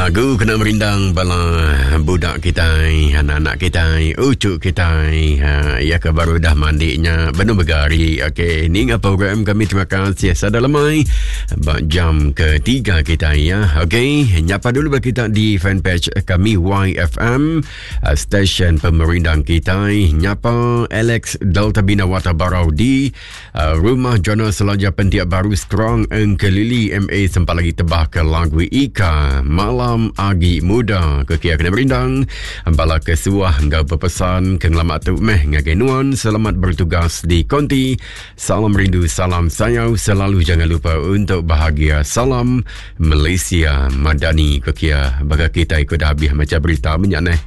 Lagu kena merindang bala budak kitai, anak-anak kitai, ucu kitai. Ha, ya ke baru dah mandi nya, benung begari. Okey, ninga program kami terima kasih sada lemai ba jam ketiga kitai ya. Okey, nyapa dulu bala kita di fanpage kami YFM eh, stesen pemerindang kitai. Nyapa Alex Delta Bina Wata Barau di Uh, Rumah Jona Selaja Pentiak Baru Strong Engkelili MA sempat lagi tebah ke lagu Ika Malam Agi Muda ke kia kena merindang bala ke suah enggau berpesan ke ngelama tu meh ngagai nuan selamat bertugas di konti salam rindu salam sayau selalu jangan lupa untuk bahagia salam Malaysia Madani ke kia baka kita ikut dah habis macam berita minyak neh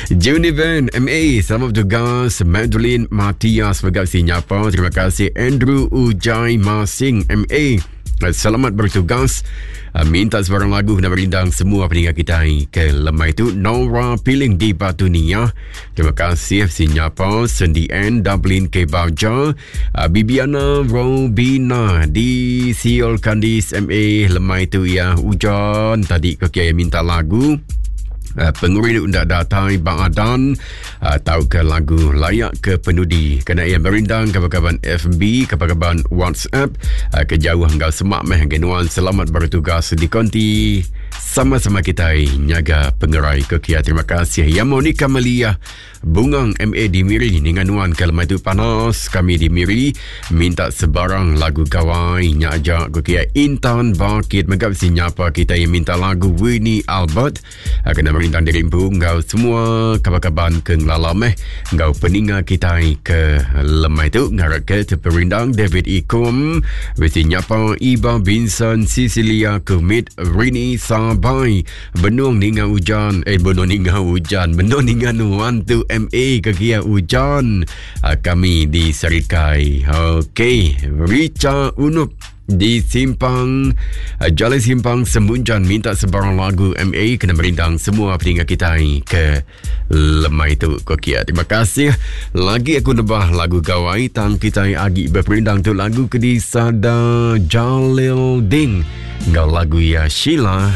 Junivan MA Selamat bertugas Madeline Matias Sebagai si nyapa Terima kasih Andrew Ujai Masing MA Selamat bertugas ah, Minta sebarang lagu Kena merindang semua peninggal kita Ke lemai tu Nora Piling di Batu Nia Terima kasih si nyapa Sendi N Dublin K Baja ah, Bibiana Robina Di Siol Kandis MA Lemai tu ya Hujan tadi ke kia minta lagu Uh, pengerindu ndak datai baadan uh, tau ke lagu layak ke penudi kena ia merindang kaban-kaban FB kaban-kaban WhatsApp uh, ke jauh enggau semak meh genuan selamat bertugas di konti sama-sama kita nyaga pengerai ke kia terima kasih ya Monica Melia Bungang MA di Miri ninga nuan ke lemai tu panas kami di Miri minta sebarang lagu gawai nya aja ku kia Intan Bakit mega bisi nyapa kita yang minta lagu Winnie Albert ah, kena merindang diri empu enggau semua kaban-kaban ke ngelala meh enggau peninga kita ke lemai tu ngarap ke terperindang David Ikom bisi nyapa Iba Vincent Cecilia Kumit Rini Sabai Benung ninga ujan Eh benung ninga ujan Benung ninga nuan tu MA ke kia ujan uh, Kami di Serikai Okey Richa Unup di Simpang uh, Jalai Simpang Semunjan minta sebarang lagu MA kena merindang semua peninga kita ke lemai tu ko kia. Terima kasih. Lagi aku nebah lagu gawai tang kita agi berperindang tu lagu ke disada Jalil Ding enggau lagu ya Sheila.